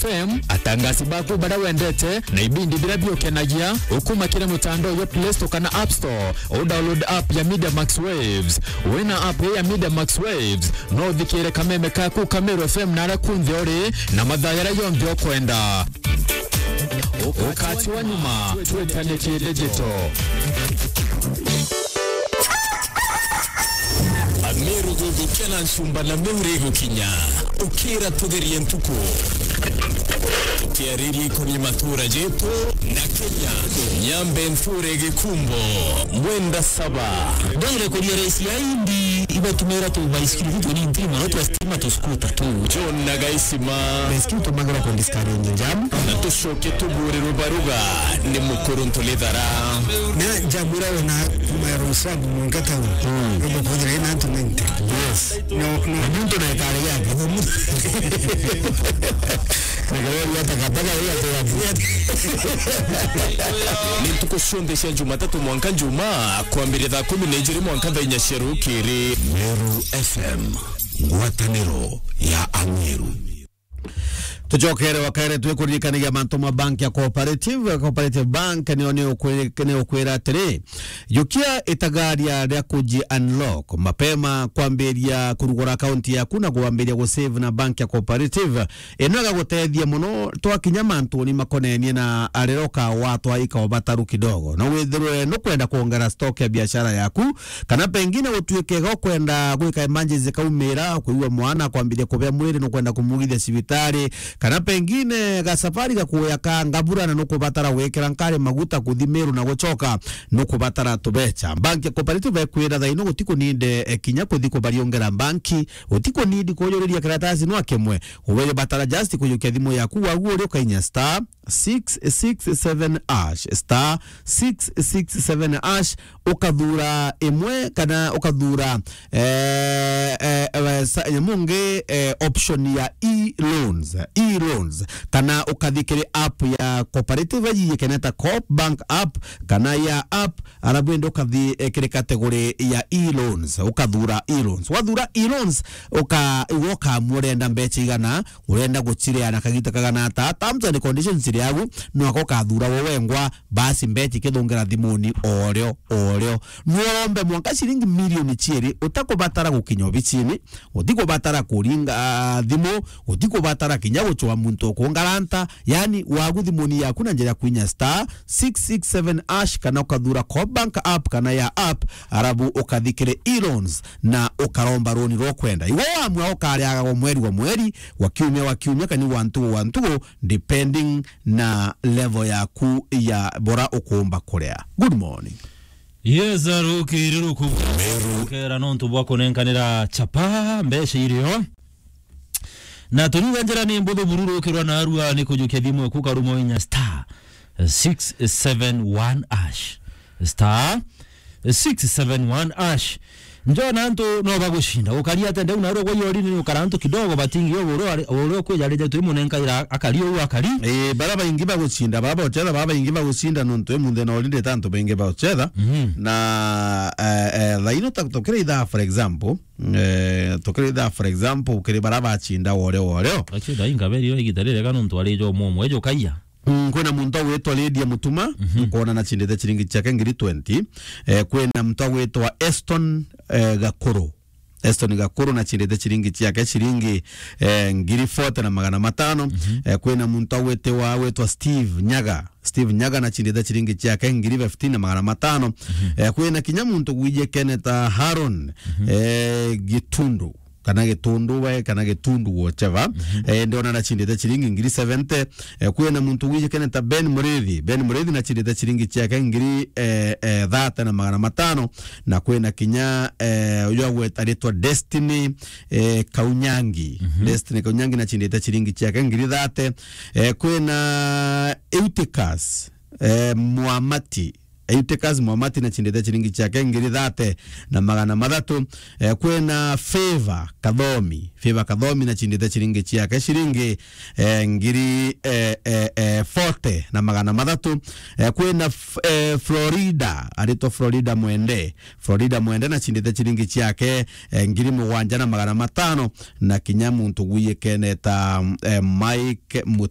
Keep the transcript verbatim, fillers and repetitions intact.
F M, atangasi baku baria wendete na ibindi biria biukenagia, ukuma kiri mutandao jwa Play Store kana App Store, u download app ya Media Max Waves. Wina app ya Media Max Waves, no uthikire kameme kaku ka Meru F M na aria kunthe uri, na mathaa jaria jonthe ukwenda. Ukatiwa nyuma, twitanitie digital. Ameru guthukia na ncumba na Meru igukinya. Ukira tutherie ntuku. Tukiariria ikoni matura jetu na Kenya. Nyambe nthure gikumbo. Mwenda saba. Ndwire kuria raisi ya indi, ibatumira tu baisikiri tu ni ntrima, no twa stima tu scooter tu. John na Gaisima. Baisikiri tumagira ku discourage jam. Na tucoke tubure rubaruga ni mukuru ntulithara. Na jamura wena kuma ya Rosabu mwanka town. Mm. Robo kodre na tu ninety. Yes. No, no. Muntu na ikare yake. Ni ntuku cionthe cia Jumatatu mwanka Njumaa, kwambiria thaa kumi na ijiri mwanka thaa inya cia rukiri. Meru F M, ngwataniro ya Ameru. Tucokere wakare twikuririkanagia mantu ma bank ya Cooperative. Cooperative Bank niyo ni ukwi-, ni ukwira atiri, jukia itagaria ria kuji unlock mapema, kwambiria kurugura akaunti yaku na kwambiria gusave na bank ya Cooperative. Ino igagutethia mono twakinya mantuni makonenie na arira ukawa twaika ubataru kidogo. No withirwe nukwenda kuongera stock ya biashara yaku, kana pengine utuike ga ukwenda gwika emergency kaumira, kwigua mwana, kwambiria kubea mwiri, nukwenda kumugithia cibitari, kana pengine gasafari gakuya ka ngabura na nukubatara gwikira nkari maguta kuthi Meru na gucoka, nukubatara tubecha. Bank ya Cooperative ekwira thaino gutikuninde, eh, kinya kuthi kubariongera banki, utikunindi kujuriria karatasi nwa kimwe. Uwe batara just kujukia thimu yaku wagu uri ukainya star six six seven hash, star six six seven hash, ukathura imwe kana ukathura, eh, eh, eh, sa-, nyamu ngi, eh, option ya e-loans, e-loans, kana ukathi kiri app ya Cooperative yikeneta Coop Bank app, kana ya app, arabu indi ukathi, eh, kiri category ya e-loans, ukathura e-loans. Wathura e-loans, uka-, iwe ukamua urenda mbecha igana, urenda guchiria na kagita kagana ata, terms and conditions iri agu, no ako ukathura we wengwa, basi mbecha ikithungira thimuni orio, orio. No urombe mwanka ciringi milioni chiiri utakubatara gukinya obicini, utikubatara kuringa, ah, thimu, utikubatara kinya guchwa muntu ukungaranta, yani wagu thimuni yaku na njira ya kwinya star six six seven hash kana ukathura Coop Bank app kana ya app, arabu ukathi kiri e-loans na ukaromba roni rwa kwenda. Iwe wamua ukariagaga o mweri wa mweri, wa kiumia wa kiumia, kani wa ntugu wa ntugu, depending na level yaku ya bora ukumba kuria. Good morning. Yes, rukiri ruku. Meru. Kera nontu bwa kunenkanira chapa mbeca irio. Na turiuga njira ni mbuthu buru rukirwa narua ni kujukia thimu eku karuma inya star six seven one hash. Star six seven one hash. Njona antu no bagucinda. Gukaria ate ndeu narua gwa yori ni ukara antu kidogo batingi yo buru ari, buru kwija rije twi munenkaira akari u akari. Eh, bara baingi bagucinda, bara bochetha, bara baingi bagucinda nontu imunthe na orinde tantu baingi bochetha. Mhm. Na, eh, eh, thaino ta tukira ithaa, for example, eh, tukira ithaa, for example, kiri bara bacinda wore wore. Achi thainga beri yo igita rire kana ntu ari jo momo ejo kaiya. Mm, kwina muntu agwitwa Lydia Mutuma, mhm, nkwona na chindite chiringi chiake ngiri twenty. Eh, kwina muntu agwitwa Eston, eh, Gakuru. Eston Gakuru na chindite chiringi chiake chiringi, eh, ngiri forty na magana matano. Mhm. Eh, kwina muntu agwitiwa, agwitwa Steve Nyaga. Steve Nyaga na chindite chiringi chiake ngiri fifteen na magana matano. Mhm. Eh, kwina kinya muntu gwije Kenneth Haron, mhm, eh, Gitundu. Kana Gitundu we, kana Gitundu, whatever. Mhm. Eh, ndiona na chindite chiringi ngiri seventy. Eh, kwina muntu wijikene ta Ben Murithi. Ben Murithi na chindite chiringi chiake ngiri, eh, eh, thirty na magana matano. Na kwina kinya, eh, uyu agweta aritwa Destiny, eh, Kaunyangi. Mhm. Destiny Kaunyangi na chindite chiringi chiake ngiri thirty. Eh, kwina Eutychus, eh, Mwamati. Eutychus Mwamati na chindite chiringi chiake ngiri thate na magana mathatu. Eh, kwina Favor Kathomi. Favor Kathomi na chindite chiringi chiake chiringi, eh, ngiri, eh, eh, eh, forty na magana mathatu. Eh, kwina F-, eh, Florida, aritwa Florida Mwende. Florida Mwende na chindite chiringi chiake, eh, ngiri mugwanja na magana matano. Na kinya muntu gwiyikene ta, eh, Mike Mut-